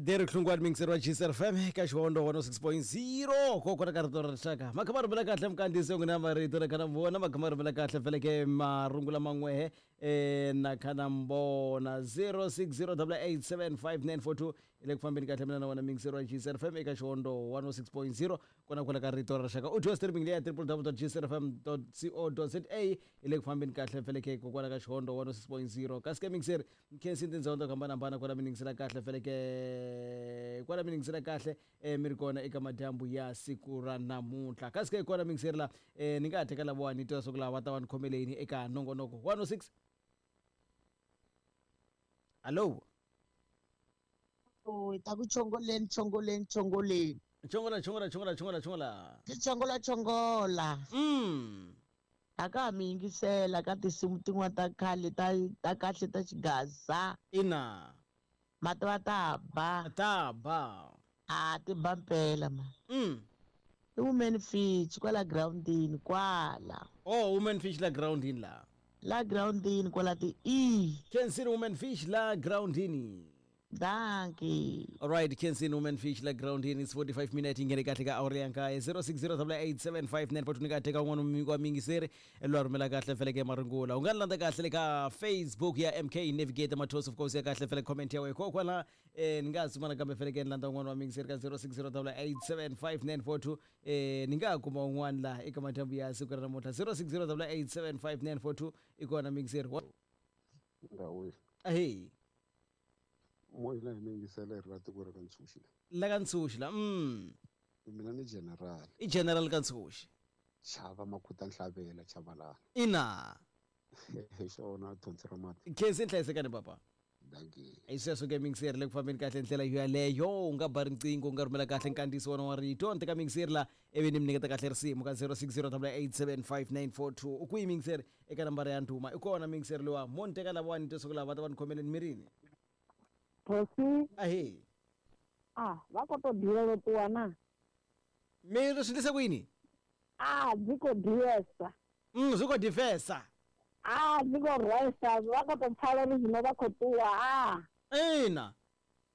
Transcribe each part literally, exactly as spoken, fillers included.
Derek Hlungwani mixer wa G S F M ka Xihondo one oh six point zero kokwana ka rito ra rixaka. Makha ma rhumela kahle mkandziyisi n'wina marito na khana vona makha ma rhumela kahle feleke marungula man'wehe eh na khana mbona zero six zero eight seven five nine four two hi le ku fambeni kahle mina na wena mixer wa G S F M eka Xihondo one oh six point zero kona kwala ka rito ra rixaka. U twa streaming leya w w w dot g s r f m dot co dot za hi le ku fambeni kahle feleke kokwala ka Xihondo one oh six point zero. Kasi ke mixer nkhensi tindhawu to hambanahambana kwala mi ningisela kahle feleke kwala mi ningisela kahle eh, mi ri kona eka madyambu ya siku ra namuntlha. Kasi ke kona mixer la eh, ni nga ha teka lavawani ni twa swa ku lava va ta va ni khomeleni eka nongonoko one oh six. Hallo. Oh, ta ku chongoleni, chongoleni, chongoleni. Chongola, chongola, chongola, chongola, chongola. Ti chongola, chongola. mm A ka ha mi yingisela ka tinsimu tin'wana ta khale ta ta kahle ta xigaza. Ina. Mati va ta ba. Ta ba. A ti ba mpela ma. mm I Women Fish kwala groundini kwala. Oh, Women Fish la groundini la. La groundini kwala ti e. Kensini Women Fish la groundini. Dankie. Alright, Kensini Women Fish la groundini. It's forty-five minutes ingene kahle ka awuri ya nkaye zero six zero eight seven five nine four two. Ni nga teka un'wana wa mingiseri loyi a rhumela kahle feleke marungula. U nga ni landza kahle le ka Facebook ya M K Navigator Matos, of course ya kahle fele comment ya wena kokwala eh ni nga suma nakambe feleke ni landza un'wana wa mingiseri ka zero six zero eight seven five nine four two. eh ni nga kuma un'wana la eka madyambu ya siku ra namuntlha zero six zero eight seven five nine four two i kona mingiseri. Ngawe. Ahey. Moya hi mingisela hi ri la tiko ra ka Ntshuxi. La ka Ntshuxi la mm Mina ni general. I general ka Ntshuxi. Chava Makhuta Nhlabela Chabalala. Ina. Hi xona thonsi ra mati. Khensi nhlayisekani papa. Dankie. Hi sweswo ke mixer le ku fambeni kahle ndlela yoyaleyo. U nga ba riqingho u nga rhumela kahle nkandziyiso wona wa rito ni teka mixer la ivi ni mi nyiketa kahle risimu ka zero six zero eight seven five nine four two. U kwihi mixer eka nambara ya ndhuma i kona mixer lowa mo ni teka lavawani ni twa swa ku lava va ta va ni khomeleni mirini. Thosi. Ahee. Ah, va kota ḓivhela ṱuwa na. Mi ri swi endlise ku yini? Ah, dzi khou ḓivhesa. mm zwi khou ḓifesa. Ah, dzi khou rwesa, vha khou tou pfala uri zwino vha khou ṱuwa ah. Ina.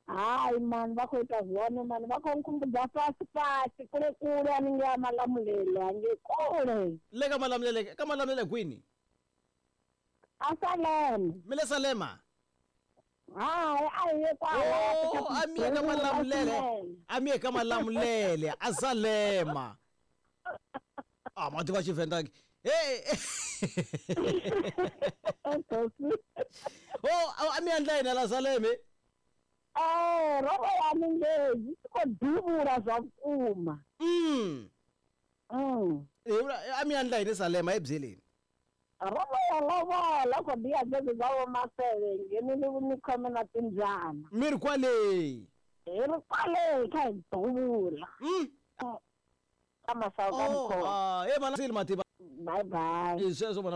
Hai mani, vha khou ita zwone mani, vha khou nkhumbudza fhasi fhasi kule kule haningei ha Malamulele hangei kule. Le ka Malamulele, ka Malamulele kwini? A Salema. Mi le Salema? Hai, a hi ye kwala. Oh, a mi ye ka Malamulele, a mi ye ka Malamulele a Salema. A ma tiva Xivenda ke hey. Oh, a mi endla yini la Saleme? Eh, ro vha haningei zwi tshi khou ḓivhula zwa vhukuma. mm Mm. A mi endla yini Salema hi byeleni? Ro vha ya lovola khou ḓi ya dzedzi dza vho Maseve ngeno ni ni khome na timbyana. Mi ri kwale? Hi ri kwale kha hi ḓuvula. mm Ka masawu ka Oh, mukhosi. ah, e mana mativa. Bye bye. Hi sweswo mana.